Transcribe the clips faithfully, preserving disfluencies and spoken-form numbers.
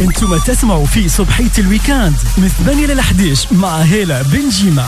انتم تسمعوا في صبحية ال week-end من ثمانية ل أحد عشر مع هالة بنجيمة.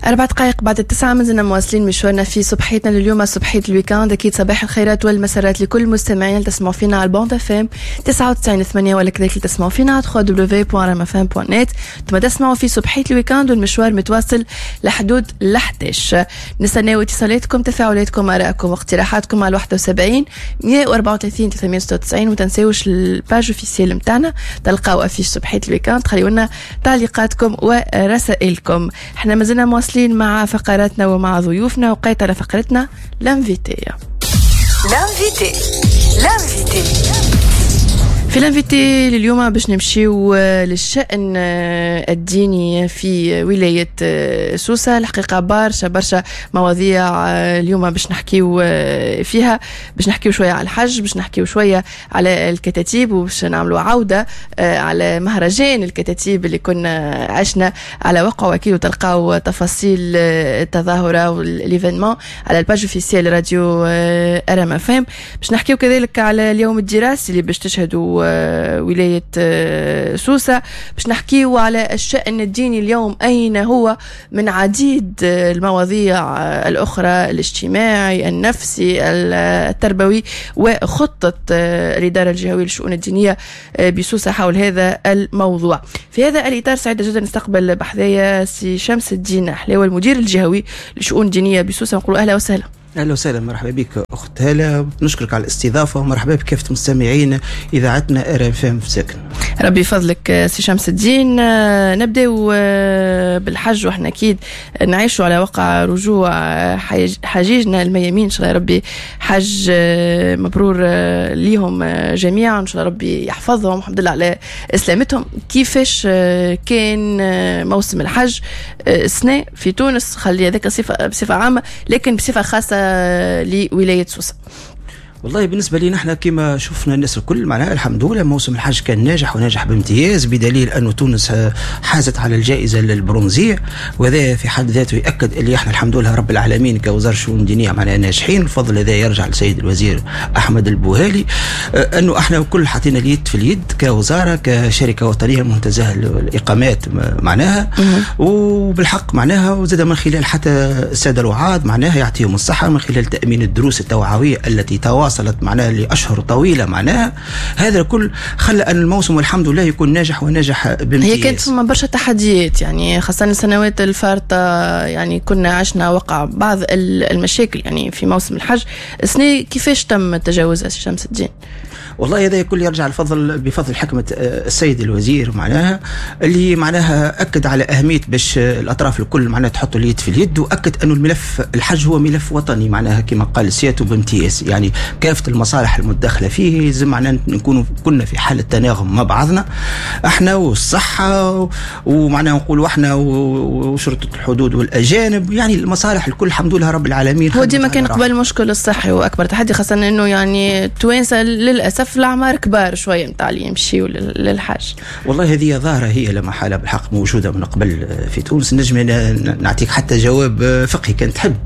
أربع دقائق بعد التسعة مازلنا مواصلين مشوارنا في صبحيتنا لليوم، صبحية ال week-end. أكيد صباح الخيرات والمسارات لكل المستمعين اللي تسمعوا فينا على ال bande FM تسعة وتسعين ثمانية، ولا كذلك اللي تسمعوا فينا على دبليو دبليو دبليو دوت ار ام اف ام دوت نت. ثم تسمعوا في صبحية ال week-end والمشوار متواصل لحدود الأحد عشر. نستناو اتصالاتكم، تفاعلاتكم، آرائكم واقتراحاتكم على واحد وسبعين مية وأربعة وثلاثين ثلاثمية وستة وتسعين، وتنساوش ال page officielle نتاعنا تلقاو affiche صبحية ال week-end، تخليونا تعليقاتكم ورسائلكم. احنا مازلنا مواصلين مع فقراتنا ومع ضيوفنا، وقيت على فقرتنا l'invité. l'invité l'invité في l'invité لليوم باش نمشيو للشأن الديني في ولاية سوسة. الحقيقة برشا برشا مواضيع اليوم باش نحكيو فيها، باش نحكيو شوية على الحج، باش نحكيو شوية على الكتاتيب، وباش نعملوا عودة على مهرجان الكتاتيب اللي كنا عشنا على وقع، واكيد وتلقاو تفاصيل التظاهرة و l'événement على ال page officielle راديو ار ام اف ام. باش نحكيو كذلك على اليوم الدراسي اللي باش تشهدوا ولاية سوسة، باش نحكيو على الشأن الديني اليوم أين هو من عديد المواضيع الأخرى، الاجتماعي، النفسي، التربوي، وخطة الإدارة الجهوية للشؤون الدينية بسوسة حول هذا الموضوع. في هذا الإطار سعيدة جدا نستقبل بحذايا سي شمس الدين حلاوة، المدير الجهوي للشؤون الدينية بسوسة. نقول أهلا وسهلا. اهلا وسهلا، مرحبا بك اخت هاله، نشكرك على الاستضافة ومرحبا بكافة مستمعين اذاعتنا ار ام في ساكن. ربي يفضلك سي شمس الدين. نبداو بالحج، واحنا اكيد نعيشوا على وقع رجوع حجيجنا الميامين، ان شاء الله ربي حج مبرور ليهم جميعا، ان شاء الله ربي يحفظهم، الحمد لله على سلامتهم. كيفاش كان موسم الحج السنة في تونس؟ خلي هذاك بصفة عامة، لكن بصفة خاصة لولاية سوسة. والله بالنسبة لي نحن كما شفنا الناس الكل معناها الحمد لله موسم الحج كان ناجح وناجح بامتياز، بدليل أن تونس حازت على الجائزة البرونزية، وهذا في حد ذاته يأكد اللي احنا الحمد لله رب العالمين كوزارة الشؤون الدينية معناها ناجحين. الفضل هذا يرجع للسيد الوزير أحمد البوهالي، أنه احنا كل حطينا اليد في اليد كوزارة كشركة وطنية منتزه الإقامات معناها، وبالحق معناها وزاد من خلال حتى السادة الوعاد معناها يعطيهم الصحة من خلال تأمين الدروس التوعوية التي تواصل وصلت معناها لأشهر طويلة معناها. هذا الكل خلى أن الموسم والحمد لله يكون ناجح وناجح بامتياز. هي كانت ثم برشا تحديات، يعني خاصة السنوات الفارطة، يعني كنا عشنا وقع بعض المشاكل يعني في موسم الحج. السنة كيفاش تم تجاوزها سي شمس الدين؟ والله هذا كل يرجع الفضل بفضل حكمة السيد الوزير معناها، اللي معناها أكد على أهمية باش الأطراف الكل معناها تحط اليد في اليد، وأكد أنه الملف الحج هو ملف وطني معناها كما قال سيادته بامتياز، يعني كافة المصالح المتداخلة فيه لازم معناها نكونوا كنا في حالة تناغم مع بعضنا احنا والصحة، ومعناها نقولوا احنا وشرطة الحدود والأجانب، يعني المصالح الكل الحمد لله رب العالمين. هو ديما كان قبل المشكل الصحي وأكبر تحدي، خاصة أنه يعني التوانسة للأسف الأعمار كبار شوية نتاع اللي يمشيوا للحج. والله هذه ظاهرة هي لما حالة بالحق موجودة من قبل في تونس. نجم نعطيك حتى جواب فقهي كان تحب،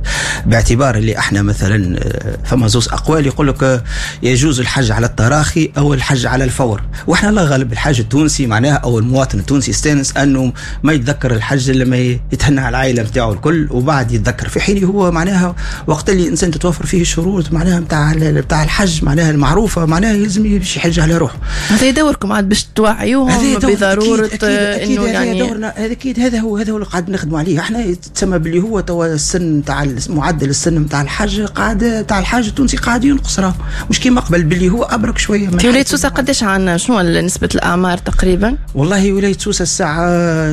باعتبار اللي احنا مثلا فما زوز أقوال يقول لك يجوز الحج على التراخي أو الحج على الفور، واحنا لا غالب الحاج التونسي معناها أو المواطن التونسي يستانس أنه ما يتذكر الحج إلا ما يتهنى على العائلة نتاعو الكل وبعد يتذكر، في حين هو معناها وقت اللي الإنسان تتوفر فيه الشروط معناها نتاع نتاع الحج معناها المعروفة معناها لازم يمشي يحج على روحه. هذا دوركم عاد باش توعيوهم بضرورة انه يعني دورنا هذا اكيد، هذا هو هذا هو اللي قاعد نخدموا عليه احنا. تسمى باللي هو توا السن تاع معدل السن نتاع الحج قاعد تاع الحاج التونسي قاعد ينقص، راه مش كيما قبل باللي هو ابرك شوية. في ولاية سوسة قداش عندنا شنو نسبه الاعمار تقريبا؟ والله ولاية سوسة الساعة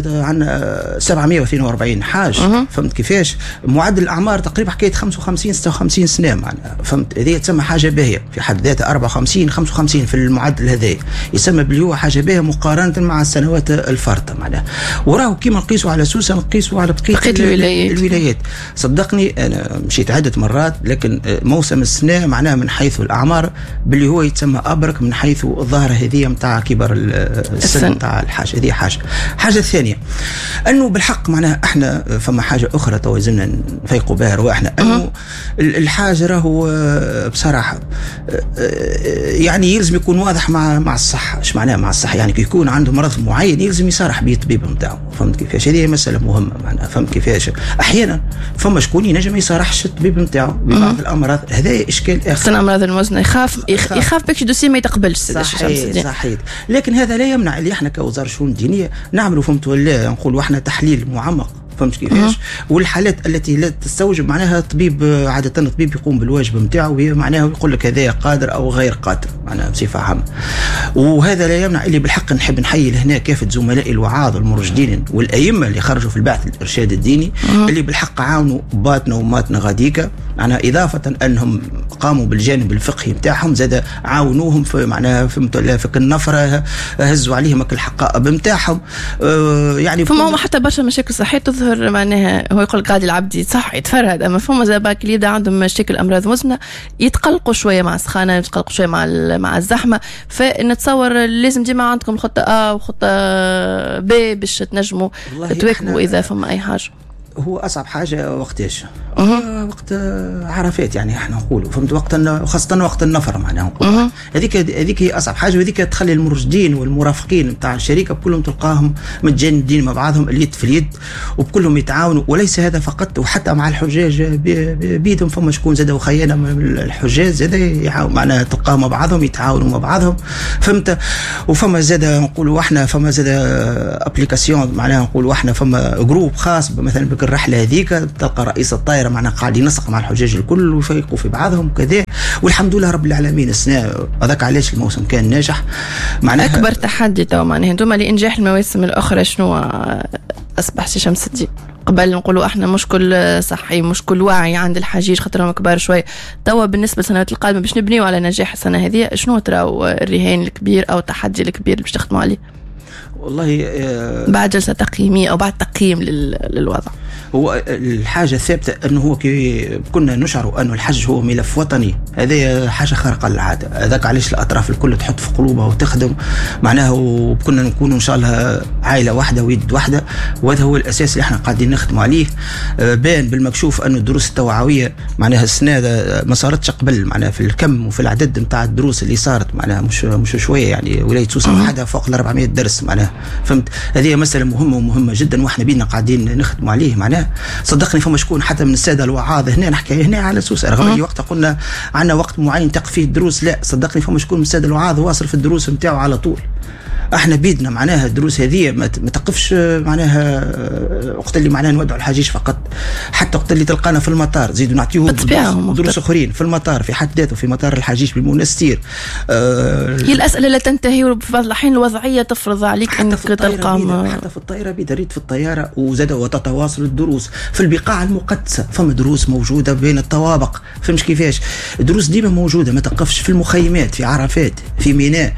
عندنا سبعمية واثنين وأربعين حاج. فهمت كيفاش؟ معدل الاعمار تقريبا حكاية خمسة وخمسين ستة وخمسين سنة معناها، فهمت؟ هذه تسمى حاجة باهيه في حد ذاتها، أربعة وخمسين خمسة وخمسين في المعدل هذا يسمى باللي هو حاجة باهيه مقارنة مع السنوات الفارطه معناها. وراه كيما نقيسوا على سوسة نقيسوا على بقية بقية الولايات. الولايات صدقني انا مشيت عده مرات، لكن موسم السنة معناها من حيث الاعمار باللي هو يتسمى ابرك من حيث الظاهرة هذه نتاع كبر السن نتاع الحاج. هذه حاجة. حاجة ثانية انه بالحق معناها احنا فما حاجة اخرى تو لازمنا نفيقوا بها رواحنا، انه الحاج راهو بصراحة يعني يعني يلزم يكون واضح مع مع الصحة. ايش معناه مع الصحة؟ يعني كي يكون عنده مرض معين يلزم يصارح به الطبيب نتاعو، فهمت كيفاش؟ هذه مسالة مهمة معناها، فهمت كيفاش؟ احيانا فما شكون ينجم يصارحش الطبيب نتاعو ببعض الامراض، هذا اشكال اخر. الامراض المزمنة يخاف يخاف باش dossier ما يتقبلش. صحيح صحيح، لكن هذا لا يمنع اللي احنا كوزارة الشؤون الدينية نعملوا، فهمت ولا نقولوا احنا تحليل معمق، فهمت كيفاش؟ والحالات التي لا تستوجب معناها الطبيب عادة الطبيب يقوم بالواجب نتاعو، معناها يقول لك هذا قادر او غير قادر معناها بصفة عامة. وهذا لا يمنع اللي بالحق نحب نحيي لهنا كافة زملائي الوعاظ والمرشدين والائمة اللي خرجوا في البعث الارشاد الديني مم. اللي بالحق عاونوا باتنا وماتنا غاديكا، معناها اضافه انهم قاموا بالجانب الفقهي نتاعهم زاد عاونوهم في معناها فهمت في النفره، هزوا عليهم الحقائب نتاعهم. أه يعني فما هما حتى برشا مشاكل صحية تظهر، معناها هو يقول قاعد العبد صح يتفرهد، اما فما زاد باك اللي يبدا عندهم مشاكل امراض مزمنة يتقلقوا شوية مع السخانه، يتقلقوا شوية مع مع الزحمة، فنتصور لازم ديما عندكم خطه ا وخطه ب باش تنجموا تواكبوا اذا فما اي حاجة. هو اصعب حاجة وقتاش؟ أه. وقت عرفات يعني احنا نقولوا، فهمت، وقت خاصة وقت النفر معناها نقولوا هذيك هذيك هي اصعب حاجة، وهذيك تخلي المرشدين والمرافقين نتاع الشركة كلهم تلقاهم متجندين مع بعضهم، اليد في اليد، وبكلهم يتعاونوا. وليس هذا فقط، وحتى مع الحجاج بيدهم فما شكون زاد وخيانة من الحجاج زاد معناها تلقاهم مع بعضهم يتعاونوا مع بعضهم، فهمت. وفما زاد نقولوا احنا فما زاد application معناها نقولوا احنا فما groupe خاص مثلا بك الرحلة هذيك، تلقى رئيس الطائرة معناها قاعد ينسق مع الحجاج الكل ويفيقوا في بعضهم وكذا. والحمد لله رب العالمين السنة هذاك علاش الموسم كان ناجح. معناها اكبر تحدي تو معناها انتم لانجاح المواسم الاخرى شنو اصبح سي شمس الدين؟ قبل نقولوا احنا مشكل صحي، مشكل وعي عند الحجيج خاطرهم كبار شوي، توا بالنسبة للسنوات القادمة باش نبنيو على نجاح السنة هذه، شنو تراو الرهان الكبير او التحدي الكبير اللي باش تخدموا عليه؟ والله آه بعد جلسة تقييمية أو بعد تقييم للوضع. هو الحاجة الثابتة أنه هو كي كنا نشعر أنه الحج هو ملف وطني، هذه حاجة خارقة للعادة، هذاك علاش الأطراف الكل تحط في قلوبها وتخدم معناها، وكنا نكون إن شاء الله عائلة واحدة ويد واحدة، وهذا هو الأساس اللي احنا قاعدين نخدموا عليه. بان بالمكشوف أنه الدروس التوعوية معناها السنة ما صارتش قبل، معناها في الكم وفي العدد نتاع الدروس اللي صارت معناها مش مش شوية، يعني ولاية سوسة وحدها فوق ال أربعمية درس معناها، فهمت. هذه مسألة مهمة ومهمة جدا، واحنا بينا قاعدين نخدموا عليه معناها. صدقني فما شكون حتى من السادة الوعاظ هنا، نحكي هنا على سوسة رغم اللي وقتها قلنا عندنا وقت معين تقف فيه الدروس، لا صدقني فما شكون من السادة الوعاظ واصل في الدروس نتاعو على طول. احنا بيدنا معناها الدروس هذه ما تقفش معناها وقت اللي معناها نودعوا الحجيج فقط، حتى وقت اللي تلقانا في المطار زيدوا نعطيوهم دروس, دروس اخرين في المطار في حد ذاته، في مطار الحجيج بالمنستير. آه هي الاسئلة لا تنتهي، وفي بعض الاحيان الوضعية تفرض عليك انك تلقى حتى في الطائرة بيدا ريت في الطيارة، وزاد وتتواصل الدروس في البقاع المقدسة، فما دروس موجودة بين الطوابق، فهمش كيفاش؟ الدروس ديما موجودة ما تقفش، في المخيمات في عرفات في ميناء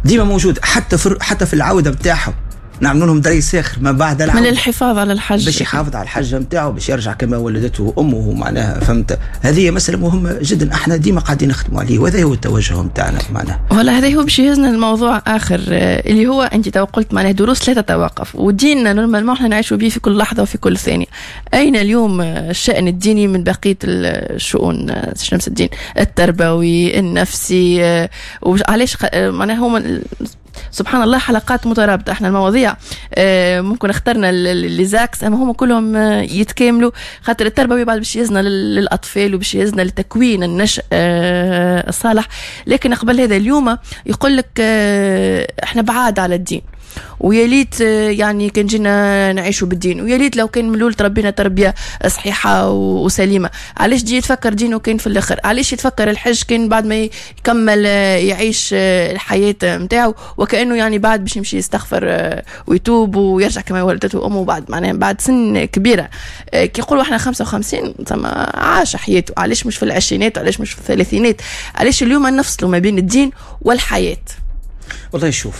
ديما موجود، حتى في حتى في العودة نتاعهم نعملوا لهم دريس اخر ما بعد العودة من الحفاظ على الحج، باش يحافظ على الحجة نتاعو، باش يرجع كما ولدته امه معناها، فهمت. هذه مسالة مهمة جدا، احنا ديما قاعدين نخدموا عليه، وهذا هو التوجه نتاعنا معناها. ولا هذا هو باش يهزنا الموضوع اخر اللي هو انت تو قلت معناها دروس لا تتوقف، وديننا normalement احنا نعيشوا به في كل لحظة وفي كل ثانية. اين اليوم الشان الديني من بقية الشؤون شمس الدين؟ التربوي، النفسي، وعلاش معناها هما سبحان الله حلقات مترابطة. احنا المواضيع ممكن اخترنا les axes، اما هم كلهم يتكاملوا، خاطر التربوي بعد باش يهزنا للاطفال وباش يهزنا لتكوين النشء الصالح. لكن قبل هذا اليوم يقول لك احنا بعاد على الدين، ويا ليت يعني كان جينا نعيشوا بالدين، ويا ليت لو كان من الاول تربينا تربيه صحيحه وسليمه. علاش تجي يتفكر دينه كان في الاخر؟ علاش يتفكر الحج كان بعد ما يكمل يعيش الحياة نتاعو، وكانه يعني بعد باش يمشي يستغفر ويتوب ويرجع كما ولدته امه بعد معناها بعد سن كبيرة. كي يقولوا احنا خمسة وخمسين تما عاش حياته، علاش مش في العشرينات؟ علاش مش في الثلاثينات؟ علاش اليوم نفصلوا ما بين الدين والحياة؟ والله شوف،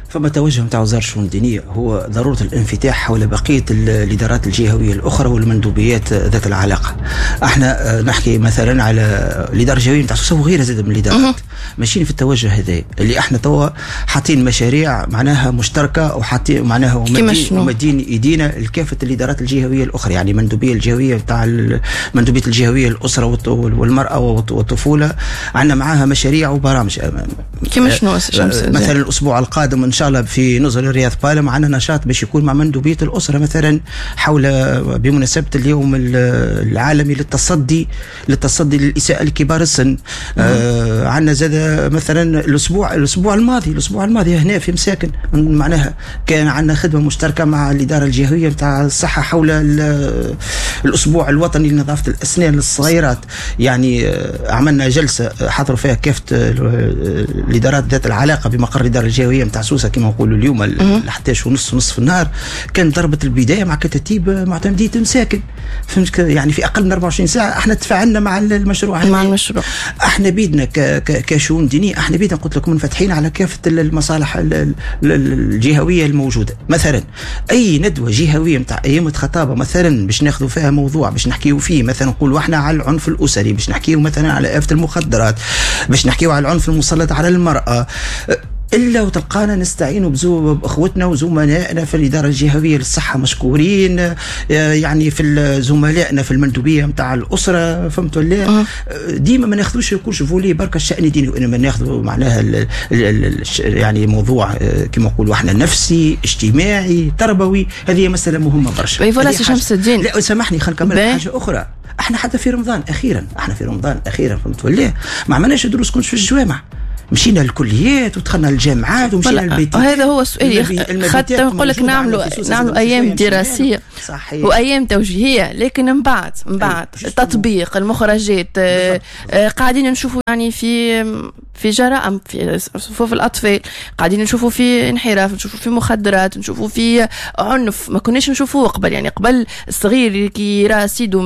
فما توجه نتاع وزارة الشؤون الدينية هو ضرورة الانفتاح حول بقية الإدارات الجهوية الأخرى والمندوبيات ذات العلاقة. احنا نحكي مثلا على الإدارة الجهوية نتاع سوسة وغيرها زاد من الإدارات. ماشيين في التوجه هذا اللي احنا توا حاطين مشاريع معناها مشتركة وحاطين معناها ومدين ايدينا لكافة الادارات الجهوية الاخرى، يعني المندوبيه الجهوية بتاع المندوبيه الجهوية الاسرة والمراة والطفوله عندنا معاها مشاريع وبرامج. كيما شنو مثلا الاسبوع القادم ان شاء الله في نزل الرياض بالم عندنا نشاط باش يكون مع مندوبيه الاسرة مثلا حول بمناسبة اليوم العالمي للتصدي للتصدي للاساءه لكبار السن. آه عندنا زاد مثلا الاسبوع الاسبوع الماضي الاسبوع الماضي هنا في مساكن معناها كان عندنا خدمة مشتركة مع الادارة الجهوية نتاع الصحة حول الاسبوع الوطني لنظافه الاسنان للصغيرات، يعني عملنا جلسه حضروا فيها كافة الادارات ذات العلاقة بمقر الادارة الجهوية نتاع سوسة كما نقولوا اليوم احد عشر ونص ونص في النهار. كان ضربه البداية مع كتاتيب معتمديه مساكن، فهمت؟ يعني في اقل من أربعة وعشرين ساعة احنا تفاعلنا مع المشروع مع المشروع. احنا بيدنا كشؤون دينية احنا بيدنا قلت لكم منفتحين على كافة المصالح الجهوية الموجودة. مثلا اي ندوه جهويه نتاع ايام خطابه مثلا باش ناخذوا فيها موضوع باش نحكيو فيه، مثلا نقولوا احنا على العنف الاسري، باش نحكيو مثلا على آفة المخدرات، باش نحكيو على العنف المسلط على المراة، الا وتلقانا نستعين باخوتنا وزملائنا في الادارة الجهوية للصحة مشكورين، يعني في زملائنا في المندوبيه نتاع الاسرة، فهمت ولا؟ ديما ما ناخذوش يكونش volet برك الشان الديني، وانما ناخذوا معناها ال ال يعني موضوع كما نقولوا احنا نفسي اجتماعي تربوي. هذه مسالة مهمة برشا. voilà سي شمس الدين، لا سامحني خلينا نكمل حاجة اخرى. احنا حتى في رمضان اخيرا احنا في رمضان اخيرا فهمت ولا ما عملناش دروس كنتش في الجوامع، مشينا للكليات ودخلنا للجامعات ومشينا للبيت. هذا هو السؤال، خاطر نقول لك نعملوا نعملوا ايام دراسية صحيح وايام توجيهيه، لكن من بعد من بعد التطبيق المخرجات آه قاعدين نشوفوا يعني في في جرائم في صفوف الاطفال، قاعدين نشوفوا في انحراف، نشوفوا في مخدرات، نشوفوا في عنف ما كناش نشوفوه قبل. يعني قبل الصغير كي يرى سيده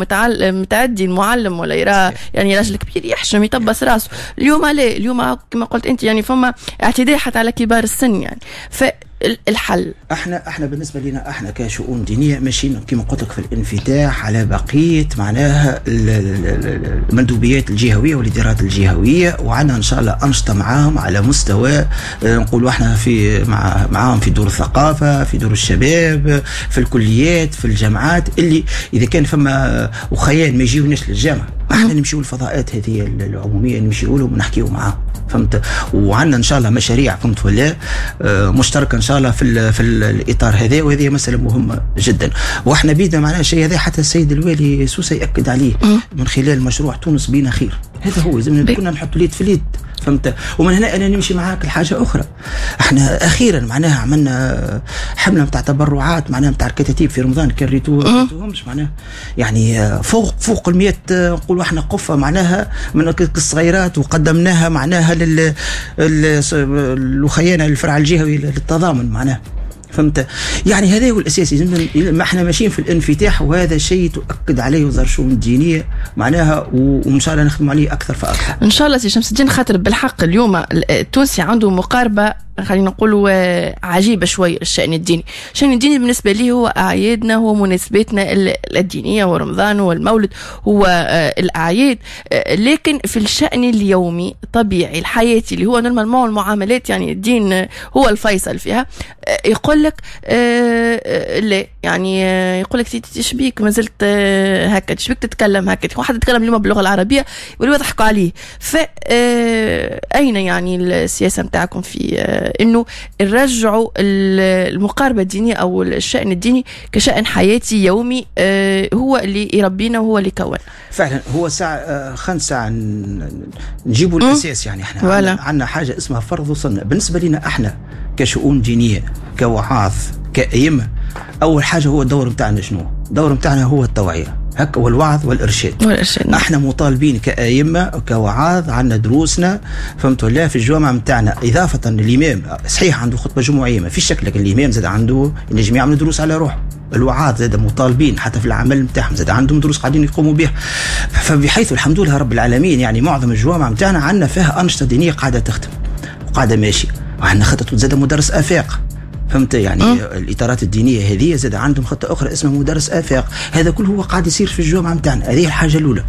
متعدي المعلم ولا يرى يعني راجل كبير يحشم يطبس راسه. اليوم لا، اليوم كما قلت انت يعني فما اعتداء حتى على كبار السن يعني. فالحل احنا احنا بالنسبة لنا احنا كشؤون دينية ماشيين كما قلت لك في الانفتاح على بقية معناها المندوبيات الجهوية والادارات الجهوية، وعندنا ان شاء الله انشطة معاهم على مستوى نقولوا احنا في مع معاهم في دور الثقافة، في دور الشباب، في الكليات، في الجامعات، اللي اذا كان فما وخيان ما يجيوناش للجامعة احنا نمشيو للفضاءات هذه العمومية نمشيو لهم ونحكيو معاهم، فهمت؟ وعندنا ان شاء الله مشاريع فهمت ولا مشتركة ان شاء الله في في الاطار هذا، وهذه مسالة مهمة جدا. واحنا بيدنا معناها الشيء هذا حتى السيد الوالي سوسة ياكد عليه من خلال مشروع تونس بينا خير. هذا هو لازم كنا نحط اليد في اليد، فهمت؟ ومن هنا انا نمشي معاك لحاجة اخرى. احنا اخيرا معناها عملنا حمله نتاع تبرعات معناها نتاع الكتاتيب في رمضان، كان ريتوهمش معناها يعني فوق فوق المية نقولوا احنا قفة معناها من الصغيرات، وقدمناها معناها لل للخيانه للفرع الجهوي للتضامن معناها، فهمت؟ يعني هذا هو الاساسي. ما احنا ماشيين في الانفتاح، وهذا شيء تؤكد عليه وزارة الشؤون الدينية معناها، وان شاء الله نخدم عليه اكثر فاكثر ان شاء الله. سي شمس الدين، خاطر بالحق اليوم التونسي عنده مقاربة خلينا نقولوا عجيبة شوية الشان الديني. الشان الديني بالنسبة لي هو اعيادنا، هو مناسباتنا الدينية، هو رمضان، هو المولد، هو الاعياد. لكن في الشان اليومي الطبيعي الحياتي اللي هو normalement المعاملات، يعني الدين هو الفيصل فيها، يقول لك لا، يعني يقول لك تشبيك ما زلت هكا، تشبيك تتكلم هكا، واحد يتكلم اليوم باللغة العربية يوليو يضحكوا عليه. فاين يعني السياسة نتاعكم في انه نرجعوا المقاربة الدينية او الشان الديني كشان حياتي يومي هو اللي يربينا وهو اللي يكون؟ فعلا هو ساعة خمسة ساعة نجيبوا الاساس. يعني احنا عندنا حاجة اسمها فرض وسنة. بالنسبة لنا احنا كشؤون دينية، كوعاظ، كأئمة، اول حاجة هو الدور نتاعنا شنو؟ الدور نتاعنا هو التوعية هكا والوعظ والارشاد. والارشاد احنا مطالبين كأئمة وكوعاظ، عندنا دروسنا فهمتوا لا في الجامعة نتاعنا. اضافه للامام صحيح عنده خطبه جمعية ما فيش شك، لكن الامام زاد عنده ينجم يعمل دروس على روحه. الوعاظ زاد مطالبين حتى في العمل نتاعهم زاد عندهم دروس قاعدين يقوموا بها. فبحيث الحمد لله رب العالمين يعني معظم الجوامع نتاعنا عندنا فيها انشطة دينية قاعدة تخدم وقاعدة ماشية، وعندنا خطه زاد مدرس افاق، فهمت يعني م. الاطارات الدينية هذه زاد عندهم خطه اخرى اسمها مدرس افاق. هذا كله هو قاعد يصير في الجامعة نتاعنا. هذه الحاجة الاولى.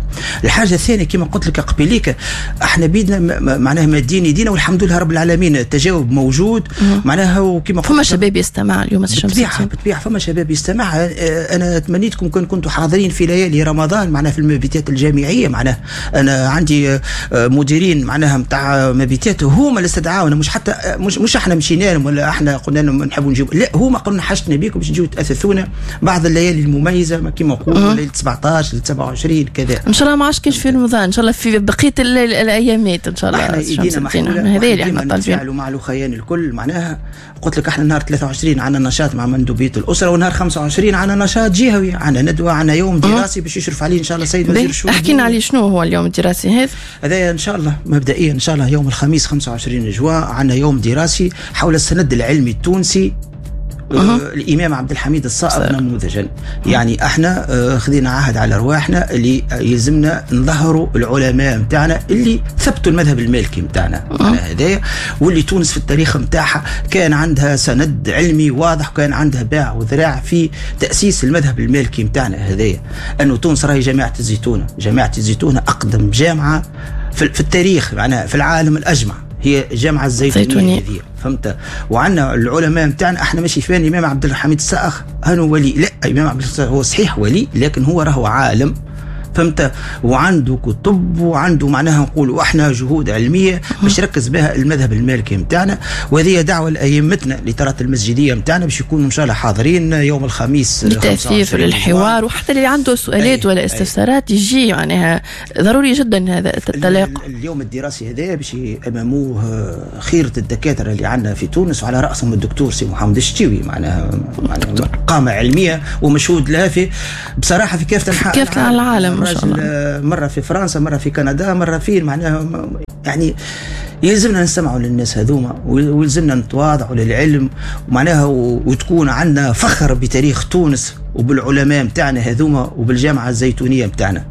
الحاجة الثانية كما قلت لك قبيليك، احنا بيدنا معناها مادين يدينا والحمد لله رب العالمين، التجاوب موجود معناها. وكما فما شباب يستمع اليوم بالطبيعة بالطبيعة فما شباب يستمع. انا تمنيتكم كان كنتوا حاضرين في ليالي رمضان معناها في المبيتات الجامعية. معناها انا عندي مديرين معناها نتاع مبيتات هما اللي استدعاونا، مش حتى مش مش احنا مشينا لهم ولا احنا قلنا لهم نحبوا نجيب، لا هما قلنا حاجتنا بيكم باش تجيو تاثثونا بعض الليالي المميزة كما نقولوا ليلة سبعطاش ليلة سبعة وعشرين كذا. ان شاء الله ما عادش كاين في رمضان، ان شاء الله في بقية الايامات ان شاء الله. احنا ايدينا محلولة، هذا اللي احنا طالبين نتفاعلوا مع الخيان الكل. معناها قلت لك احنا نهار ثلاثة وعشرين عندنا نشاط مع مندوبيه الاسرة، ونهار خمسة وعشرين عندنا نشاط جهوي، عندنا ندوه، عندنا يوم دراسي باش يشرف عليه ان شاء الله السيد وزير الشؤون. احكينا عليه شنو هو اليوم الدراسي هذا؟ هذا ان شاء الله مبدئيا ان شاء الله يوم الخميس خمسة وعشرين جوان عندنا يوم دراسي حول السند العلمي التونسي أه. الإمام عبد الحميد الصائغ نموذجا. يعني احنا خذينا عهد على رواحنا اللي يلزمنا نظهروا العلماء نتاعنا اللي ثبتوا المذهب المالكي نتاعنا على هذايا، واللي تونس في التاريخ نتاعها كان عندها سند علمي واضح، وكان عندها باع وذراع في تأسيس المذهب المالكي نتاعنا هذايا. أنه تونس راهي جامعة الزيتونة، جامعة الزيتونة أقدم جامعة في التاريخ معناها في العالم الأجمع، هي جامعة الزيتونية هذه، فهمت؟ وعندنا العلماء نتاعنا احنا ماشي فين الإمام عبد الحميد الصائغ هانو ولي، لا الإمام عبد الحميد هو صحيح ولي لكن هو راهو عالم، فهمت؟ وعنده كتب وعنده معناها نقولوا احنا جهود علمية باش يركز بها المذهب المالكي نتاعنا. وهذه دعوه لائمتنا لترات المسجديه نتاعنا باش يكونوا ان شاء الله حاضرين يوم الخميس للتاثير وللحوار، وحتى اللي عنده سؤالات ولا استفسارات يجي، معناها ضروري جدا هذا التلاقي. اليوم الدراسي هذا باش اماموه خيره الدكاترة اللي عندنا في تونس، وعلى راسهم الدكتور سي محمد الشتيوي، معناها معناها قامه علمية ومشهود لها في بصراحة في كافة انحاء كافة العالم. مرة في فرنسا، مرة في كندا، مرة فين، معناها يعني يلزمنا نسمعوا للناس هذوما، ويلزمنا نتواضعوا للعلم، ومعناها وتكون عندنا فخر بتاريخ تونس وبالعلماء متاعنا هذوما وبالجامعة الزيتونية متاعنا.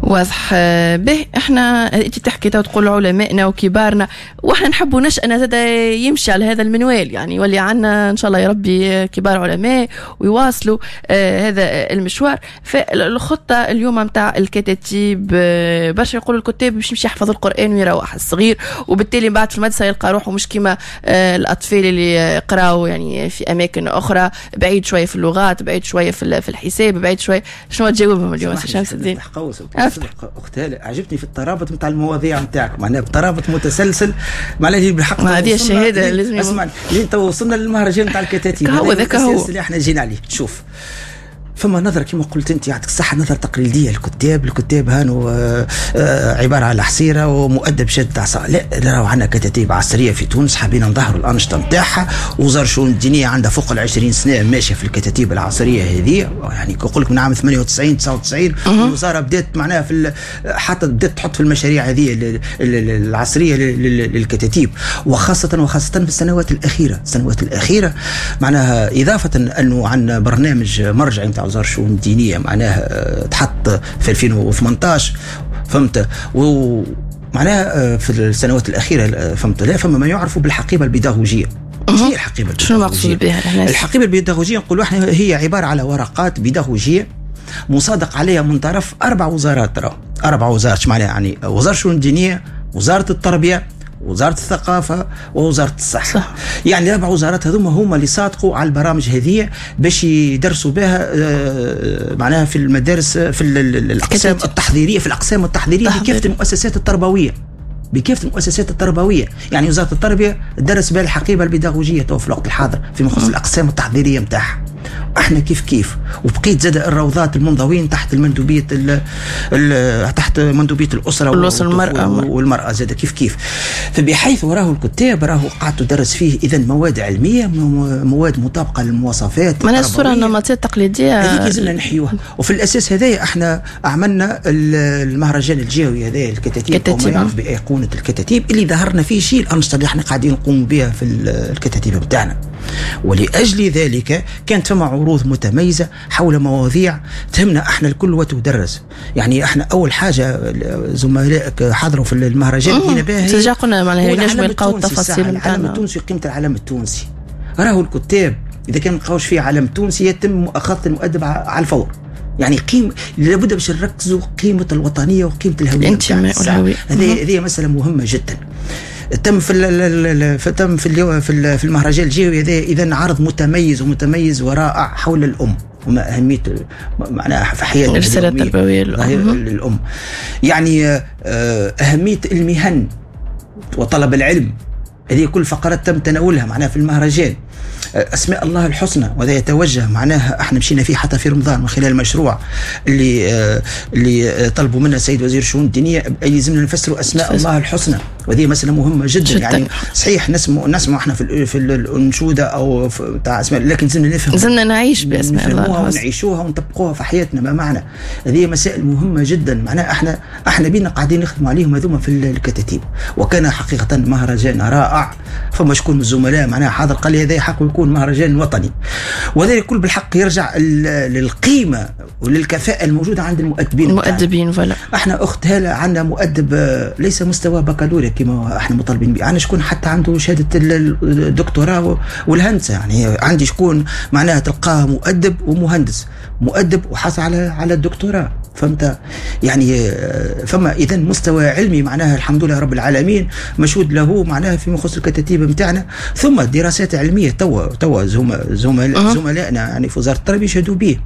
واضح به. احنا انت تحكي تقول علمائنا وكبارنا، واحنا نحبوا نشأنا زاد يمشي على هذا المنوال، يعني يولي عندنا ان شاء الله يا ربي كبار علماء ويواصلوا آه هذا المشوار. فالخطه اليوم نتاع الكتاتيب، آه برشا يقولوا الكتاب باش يمشي يحفظ القران ويروح الصغير، وبالتالي من بعد في المدرسة يلقى روحه مش كيما آه الاطفال اللي قراوا يعني في اماكن اخرى، بعيد شوية في اللغات، بعيد شوية في الحساب، بعيد شوية. شنو تجاوبهم اليوم سي شمس الدين؟ اخت هالة عجبتني في الترابط نتاع المواضيع نتاعك، معناها بترابط متسلسل، معناها بالحق هذه الشهادة لازم. اسمع، لين تو وصلنا للمهرجان نتاع الكتاتيب، هو ذاك هو اللي احنا جينا عليه. شوف، فما نظرة كما قلت انت يعطيك الصحة، نظرة تقليدية للكتاب، الكتاب هانو عبارة على حصيرة ومؤدب شاد عصا. لا، راهو عندنا كتاتيب عصرية في تونس، حابين نظهروا الأنشطة نتاعها. وزارة الشؤون الدينية عندها فوق العشرين سنة ماشية في الكتاتيب العصرية هذه، يعني نقول لك من عام ثمانية وتسعين تسعة وتسعين الوزارة بدات معناها في حتى بدات تحط في المشاريع هذه العصرية للكتاتيب، وخاصة وخاصة في السنوات الأخيرة. السنوات الأخيرة معناها إضافة أنه عندنا برنامج مرجعي نتاع وزارة الشؤون الدينية معناها تحط في ألفين وثمانطاش، فهمت؟ ومعناها في السنوات الأخيرة، فهمت؟ لا، فما ما يعرف بالحقيبة البيداغوجية. ايش هي الحقيبة البيداغوجية؟ شنو المقصود بها؟ الحقيبة البيداغوجية نقولوا احنا هي عبارة على ورقات بيداغوجية مصادق عليها من طرف أربع وزارات. ترى أربع وزارات، معناها يعني وزارة الشؤون الدينية، وزارة التربية، وزارة الثقافة، ووزارة الصحة. صح. يعني الأربع وزارات هذوما هما اللي صادقوا على البرامج هذه باش يدرسوا بها معناها في المدارس، في الأقسام التحضيرية، في الأقسام التحضيرية بكافة المؤسسات التربوية، بكافة المؤسسات التربوية. يعني وزارة التربية درس بها الحقيبة البيداغوجية تو في الوقت الحاضر فيما يخص الأقسام التحضيرية نتاعها. احنا كيف كيف، وبقيت زاد الروضات المنضوين تحت المندوبيه ال ال تحت مندوبيه الاسرة والمراة والمراة زاد كيف كيف. فبحيث راه الكتاب راهو قعدت تدرس فيه اذا مواد علمية، مواد مطابقه للمواصفات، من الصورة النمطية التقليدية هذيك لازمنا نحيوها. وفي الاساس هذايا احنا عملنا المهرجان الجهوي هذايا الكتاتيب، او ما يعرف بايقونه الكتاتيب، اللي ظهرنا فيه شيء الانشطة اللي احنا قاعدين نقوم بها في الكتاتيب بتاعنا. ولأجل ذلك كانت فما عروض متميزة حول مواضيع تهمنا احنا الكل وتدرس. يعني احنا أول حاجة زملائك حضروا في المهرجان هنا باهي قلنا معناها ينجموا يلقاو التفاصيل نتاعنا. العلم التونسي، قيمة العلم التونسي. راهو الكتاب اذا كان ما نلقاوش فيه علم تونسي يتم مؤاخذة المؤدب على الفور. يعني قيم لابد باش نركزوا قيمة الوطنية وقيمه الهوية، الانتماء والهوية. هذه هذه مسالة مهمة جدا. تم في تم في في المهرجان الجهوي هذا اذا عرض متميز ومتميز ورائع حول الام وما اهمية معناها في حياتنا، الرسالة التربوية للام. يعني اهمية المهن وطلب العلم، هذه كل فقرات تم تناولها معناها في المهرجان. أسماء الله الحسنى، وهذا يتوجه معناها احنا مشينا فيه حتى في رمضان من خلال المشروع اللي اللي طلبوا منا السيد وزير الشؤون الدينية، يلزمنا نفسروا أسماء الله الحسنى، وهذه مسألة مهمة جدا. جداً. يعني صحيح نسمع نسمع احنا في في الأنشودة أو تاع أسماء، لكن لازمنا نفهم، لازمنا نعيش بأسماء الله الحسنى ونعيشوها ونطبقوها في حياتنا. ما معنى هذه مسائل مهمة جدا، معناها احنا احنا بينا قاعدين نخدموا عليهم هذوما في الكتاتيب. وكان حقيقة مهرجان رائع، فما شكون من الزملاء معناها حاضر قال لي هذا حق يكون مهرجان وطني، وهذا الكل بالحق يرجع للقيمة وللكفاءة الموجودة عند المؤدبين. المؤدبين فلا احنا أخت هالة عندنا مؤدب ليس مستوى بكالوريا كما احنا مطالبين به، عندنا شكون حتى عنده شهادة الدكتوراه والهندسة، يعني عندي شكون معناها تلقاه مؤدب ومهندس، مؤدب وحصل على على الدكتوراه، فهمت؟ يعني فما اذا مستوى علمي معناها الحمد لله رب العالمين مشهود له معناها فيما يخص الكتاتيب نتاعنا. ثم دراسات علمية توا توا زملائنا يعني في وزارة التربية يشهدوا به،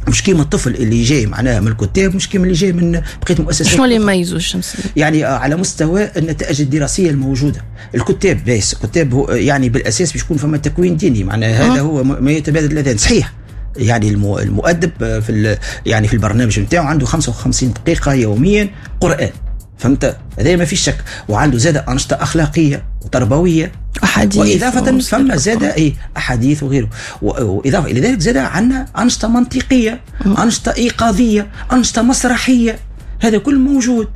مش كيما الطفل اللي جاي معناها من الكتاب، مش كيما اللي جاي من بقية المؤسسات. شنو اللي يميزوا الشمس؟ يعني على مستوى النتائج الدراسية الموجودة. الكتاب بس الكتاب هو يعني بالاساس باش يكون فما تكوين ديني، معناها هذا هو ما يتبادل الاذان. صحيح يعني المؤدب في يعني في البرنامج نتاعو عنده خمسة وخمسين دقيقة يوميا قرآن، فهمت؟ هذا ما فيش شك. وعنده زاد أنشطة أخلاقية وتربوية أحاديث، وإضافة فما زاد أي أحاديث وغيره، وإضافة إلى ذلك زاد عندنا أنشطة منطقية، أنشطة إيقاظية، أنشطة مسرحية، هذا كل موجود،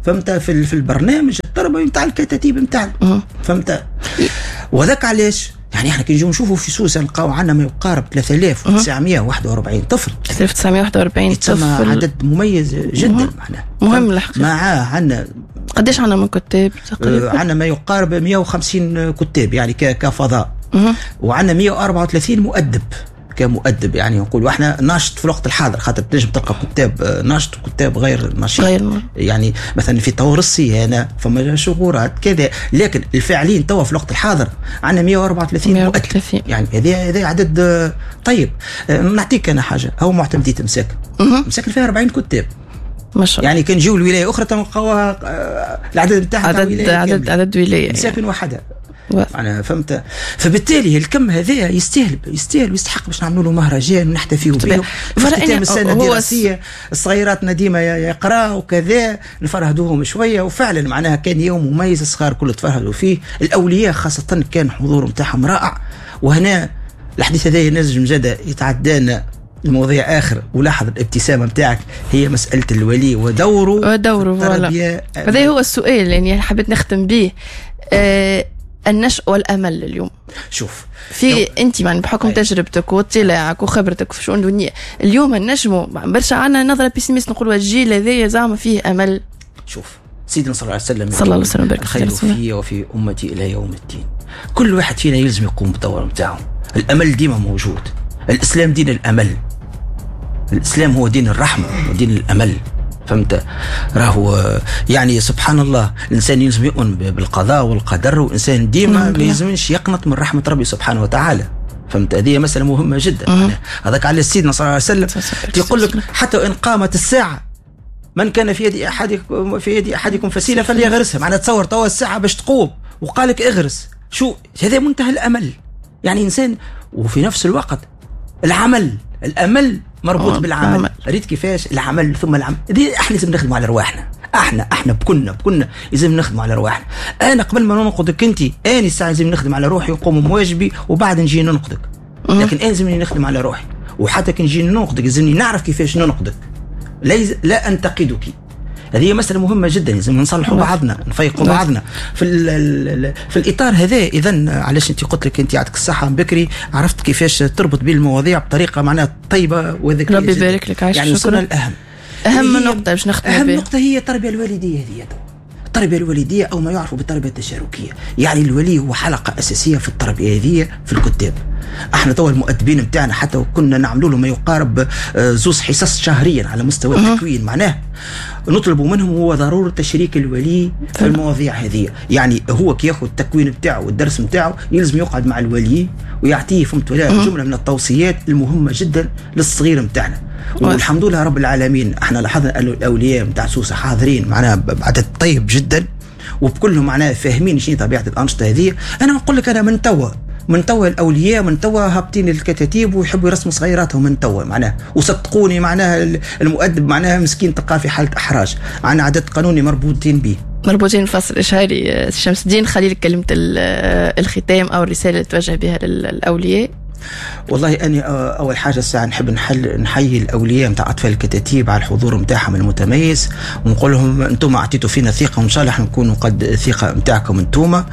فهمت؟ في في البرنامج التربوي نتاع الكتاتيب نتاعنا، فهمت؟ وذاك علاش يعني احنا كي نجيو نشوفوا في سوسة نلقاو عندنا ما يقارب ثلاثة آلاف وتسعمائة وواحد وأربعين طفل، ثلاثة آلاف وتسعمائة وواحد وأربعين طفل، عدد مميز جدا معناه مهم الحقيقة. معاه عندنا قداش عندنا من كتاب تقريبا؟ عندنا ما يقارب مئة وخمسين كتاب يعني كفضاء، وعندنا مئة وأربعة وثلاثين مؤدب كمؤدب، يعني نقولوا احنا ناشط في الوقت الحاضر، خاطر تنجم تلقى كتاب ناشط وكتاب غير نشيط، غير. يعني مثلا في طور الصيانة فما شغورات كذا، لكن الفاعلين توا في الوقت الحاضر عندنا مئة وأربعة وثلاثين مؤدب، يعني هذا هذا عدد طيب. نعطيك انا حاجة، هو معتمدية مساكن، مساكن فيها أربعين كتاب ما شاء الله، يعني كان نجيو لولاية اخرى تلقاوها العدد نتاعها عدد عدد عدد ولاية مساكن وحدها أنا فهمت. فبالتالي الكم هذا يستاهل يستاهل ويستحق باش نعملوا له مهرجان ونحتفيوا به في ختام السنة الدراسية. الصغيراتنا ديما يقراوا وكذا، نفرهدوهم شوية، وفعلا معناها كان يوم مميز، الصغار كل تفرهدوا فيه، الاولياء خاصة كان حضور نتاعهم رائع. وهنا الحديث هذا ينجم زاد يتعدانا المواضيع اخر، ولاحظ الابتسامة نتاعك هي مسالة الولي ودوره ودوره التربية. هذا هو السؤال يعني حبيت نختم به، أه النشء والامل اليوم. شوف في انت يعني بحكم أي. تجربتك واطلاعك وخبرتك في شؤون الدنيا، اليوم النجمو برشا عندنا نظره pessimiste، نقولوا الجيل هذايا زعما فيه امل. شوف سيدنا صلى الله عليه وسلم صلى الله عليه وسلم الخير في وفي امتي الى يوم الدين. كل واحد فينا يلزم يقوم بالدور نتاعو. الامل ديما موجود. الاسلام دين الامل، الاسلام هو دين الرحمة ودين الامل، فهمت؟ راهو يعني سبحان الله الانسان يلزم يؤمن بالقضاء والقدر، والانسان ديما ما يلزمش يقنط من رحمه ربي سبحانه وتعالى، فهمت؟ هذه مسالة مهمة جدا. هذاك على سيدنا صلى الله عليه وسلم يقول لك حتى وان قامت الساعة من كان في يد احدكم في يد احدكم فسيله فليغرسها. معناها تصور توا الساعة باش تقوم وقال لك اغرس، شو هذا؟ منتهى الامل. يعني انسان، وفي نفس الوقت العمل، الامل مربوط بالعمل. ريت كيفاش العمل ثم العمل. دي احنا لازم نخدموا على رواحنا، احنا احنا بكلنا بكلنا لازم نخدموا على رواحنا. انا قبل ما ننقدك انت، انا الساعة لازم نخدم على روحي ونقوم بواجبي وبعد نجي ننقدك. لكن انا لازمني نخدم على روحي، وحتى كي نجي ننقدك لازمني نعرف كيفاش ننقدك، لا انتقدك. هذه مسألة مهمة جدا، لازم نصلحوا بعضنا، نفيقوا بعضنا في ال في الإطار هذا. إذا علاش أنت قلت لك أنت يعطيك الصحة بكري، عرفت كيفاش تربط بين المواضيع بطريقة معناها طيبة وذكية. ربي يبارك لك. عايش يعني وصلنا الأهم، أهم نقطة باش نختم بها، أهم نقطة هي التربية الوالدية. هذه التربية الوالدية او ما يعرف بالتربية التشاركيه، يعني الولي هو حلقة اساسية في التربية هذه في الكتاب. احنا توا المؤدبين نتاعنا حتى كنا نعملوا لهم ما يقارب زوز حصص شهريا على مستوى التكوين، معناه نطلب منهم هو ضرورة تشريك الولي في المواضيع هذه. يعني هو كي ياخذ التكوين نتاعو والدرس نتاعو يلزم يقعد مع الولي ويعطيه فهمت ولا جملة من التوصيات المهمة جدا للصغير نتاعنا. والحمد لله رب العالمين احنا لاحظنا ان الاولياء نتاع سوسة حاضرين معناها بعدد طيب جدا، وبكلهم معناها فاهمين شنو طبيعة الانشطة هذه. انا نقول لك انا من توا من توا الاولياء من توا هابطين الكتاتيب ويحبوا يرسموا صغيراتهم من توا معناها، وصدقوني معناها المؤدب معناها مسكين تلقاه في حاله احراج، عندنا عدد قانوني مربوطين به، مربوطين الفصل الاشهاري. شمس الدين خليل، كلمة الختام او الرسالة اللي توجه بها للاولياء. والله أنا أول حاجة الساعة نحب نحل نحيي الأولياء نتاع أطفال الكتاتيب على الحضور نتاعهم المتميز، ونقول لهم أنتم أعطيتوا فينا ثقة وإن شاء الله نكونوا قد الثقة نتاعكم أنتم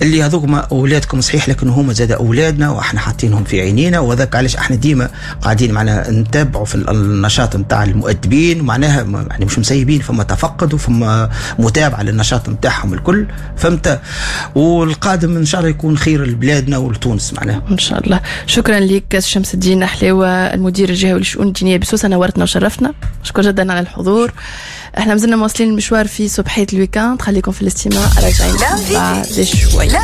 اللي هذوك أولادكم صحيح، لكن هما زاد أولادنا وإحنا حاطينهم في عينينا، وذاك علاش إحنا ديما قاعدين معنا نتابعوا في النشاط نتاع المؤدبين، معناها يعني مش مسيبين، فما تفقد وفما متابعة للنشاط نتاعهم الكل، فهمت؟ والقادم إن شاء الله يكون خير لبلادنا ولتونس معناها إن شاء الله. شكرا لك شمس الدين حلاوة، المدير الجهوي للشؤون الدينية بسوسة، نورتنا وشرفتنا، مشكور جدا على الحضور. احنا مازلنا مواصلين المشوار في صبحية ال week-end، خليكم في الاستماع، راجعين بعد شوية.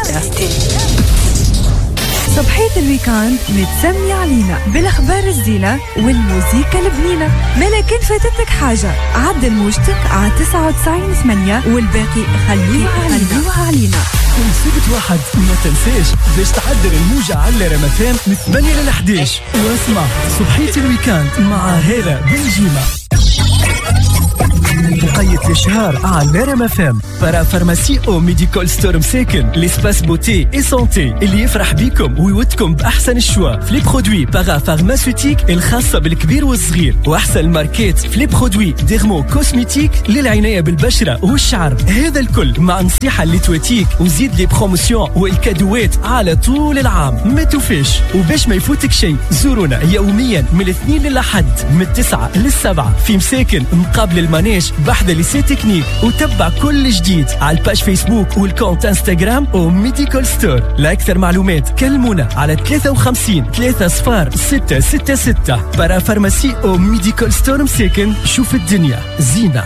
صبحية ال week-end متسمية علينا بالأخبار الزينة والموسيقى البنينة، ما لكن فاتتك حاجة عدل موجتك على تسعة وتسعين ثمانية والباقي خليها علينا. علينا كل سبت واحد ما تنساش باش تعدل الموجة على رام اف ام من ثمانية لل أحد عشر، واسمع صبحية ال week-end مع هالة بنجيمة. بقية الإشهار على رام اف ام. Parapharmacie او Medical Store مساكن، l'espace beauté et santé اللي يفرح بيكم ويودكم باحسن ال choix في les produits parapharmaceutiques الخاصة بالكبير والصغير، واحسن الماركات في les produits dermo-cosmétiques للعنايه بالبشره والشعر. هذا الكل مع نصيحة اللي تواتيك وزيد les promotions والكادوات على طول العام، ما توفيش. وباش ما يفوتك شيء زورونا يوميا من الاثنين للاحد من التسعة للسبعه في مساكن مقابل المانيش بحذا lycée technique، وتبع كل جديد على ال page فيسبوك وال compte انستغرام و Medical Store. لأكثر معلومات كلمونا على ثلاثة وخمسين ثلاثة صفار ستة ستة ستة. Parapharmacie او Medical Store مساكن، شوف الدنيا زينة.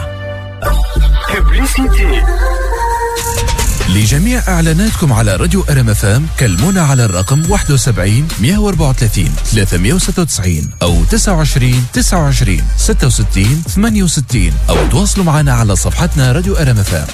لجميع إعلاناتكم على راديو أر إم إف إم كلمونا على الرقم واحد وسبعين مئة وأربعة وثلاثين ثلاثمئة وستة وتسعين أو تسعة وعشرين تسعة وعشرين ستة وستين ثمانية وستين، أو تواصلوا معنا على صفحتنا راديو أر إم إف إم.